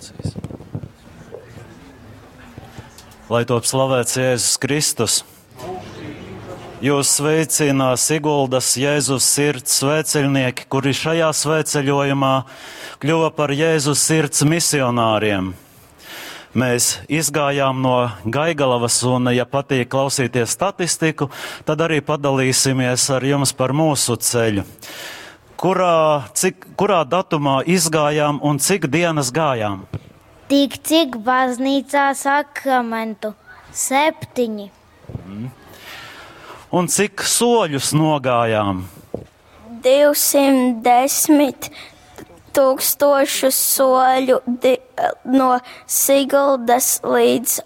Emocijas. Lai top slavēts Jēzus Kristus! Jūs sveicina Siguldas Jēzus sirds svētceļnieki, kuri šajā svētceļojumā kļuva par Jēzus sirds misionāriem. Mēs izgājām no Gaigalavas un, ja patīk klausīties statistiku, tad arī padalīsimies ar jums par mūsu ceļu. Kurā, cik, kurā datumā izgājām un cik dienas gājām? Tik cik baznīcā sakramentu? 7. Un cik soļus nogājām? 210 tūkstošu soļu no Siguldas līdz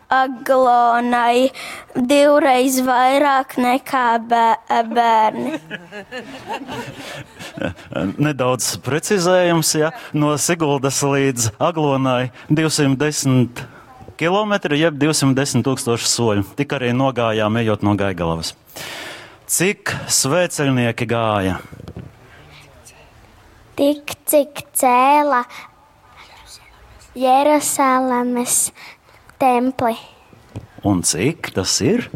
Aglonai, divreiz vairāk nekā bērni. Nedaudz precizējums, ja? No Siguldas līdz Aglonai 210 kilometri, jeb 210 tūkstoši soļu. Tik arī nogājām, ejot no Gaigalavas. Cik svētceļnieki gāja? Tik cik cēla Jeruzalemes templi. Un cik tas ir?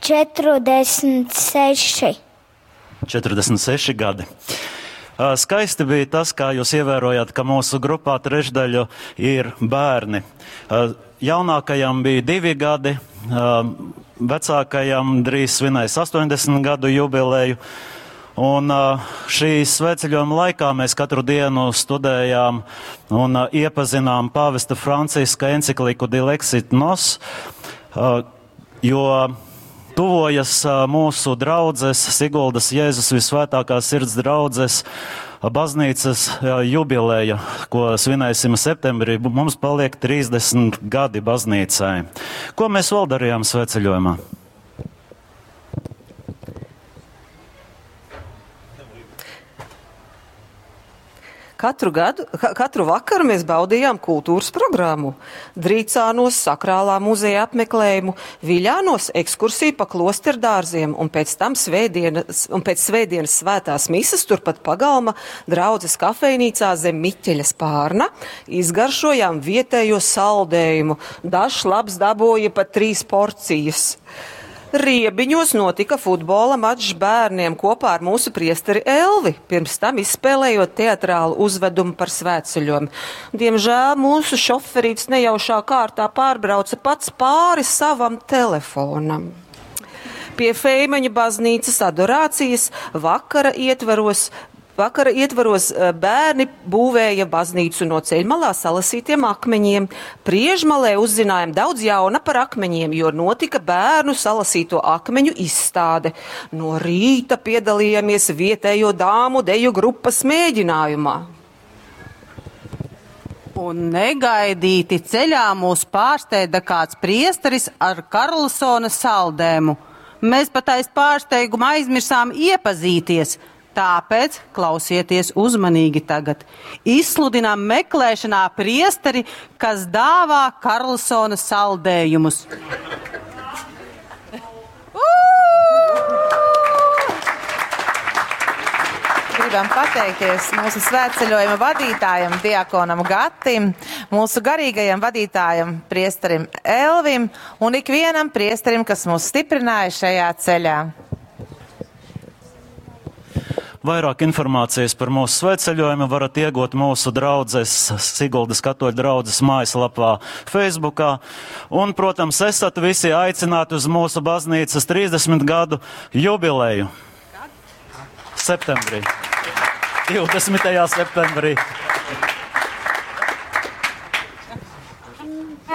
46. 46 gadi. Skaisti bija tas, kā jūs ievērojāt, ka mūsu grupā trešdaļu ir bērni. Jaunākajam bija 2 gadi, vecākajam drīz svinēs 80 gadu jubileju. Un šī svētceļojuma laikā mēs katru dienu studējām un iepazinām pāvesta Franciska encikliku Dilexit Nos, jo tuvojas mūsu draudzes, Siguldas Jēzus Visvētākās Sirds draudzes baznīcas jubileja, ko svinēsim septembrī. Mums paliek 30 gadi baznīcai. Ko mēs vēl darījām svētceļojumā? Katru vakaru mēs baudījām kultūras programmu. Drīcānos sakrālā muzeja apmeklējumu, Viļānos ekskursiju pa klosterdārziem un pēc tam pēc svētdienas svētās mises turpat pagalma draudzes kafejnīcā zem Miķeļa spārna izgaršojām vietējo saldējumu. Dažs labs dabūja pat 3 porcijas. Riebiņos notika futbola mačs bērniem kopā ar mūsu priesteri Elvi, pirms tam izspēlējot teatrālu uzvedumu par svētceļojumu. Diemžēl mūsu šoferīts nejaušā kārtā pārbrauca pats pāri savam telefonam. Pie Feimaņa baznīcas adorācijas vakara ietvaros bērni būvēja baznīcu no ceļmalā salasītiem akmeņiem. Priežmalē uzzinājām daudz jauna par akmeņiem, jo notika bērnu salasīto akmeņu izstāde. No rīta piedalījāmies vietējo dāmu deju grupas mēģinājumā. Un negaidīti ceļā mūs pārsteidza kāds priesteris ar Karlsona saldēmu. Mēs pat aiz pārsteiguma aizmirsām iepazīties. Tāpēc klausieties uzmanīgi tagad. Izsludinām meklēšanā priesteri, kas dāvā Karlsona saldējumus. Gribam pateikties mūsu svētceļojuma vadītājam, diakonam Gatim, mūsu garīgajam vadītājam, priesterim Elvim un ikvienam priesterim, kas mūs stiprināja šajā ceļā. Vairāk informācijas par mūsu svētceļojumu varat iegūt mūsu draudzes, Siguldas katoļu draudzes mājaslapā, Facebookā. Un, protams, esat visi aicināti uz mūsu baznīcas 30 gadu jubileju. Septembrī. 20. septembrī.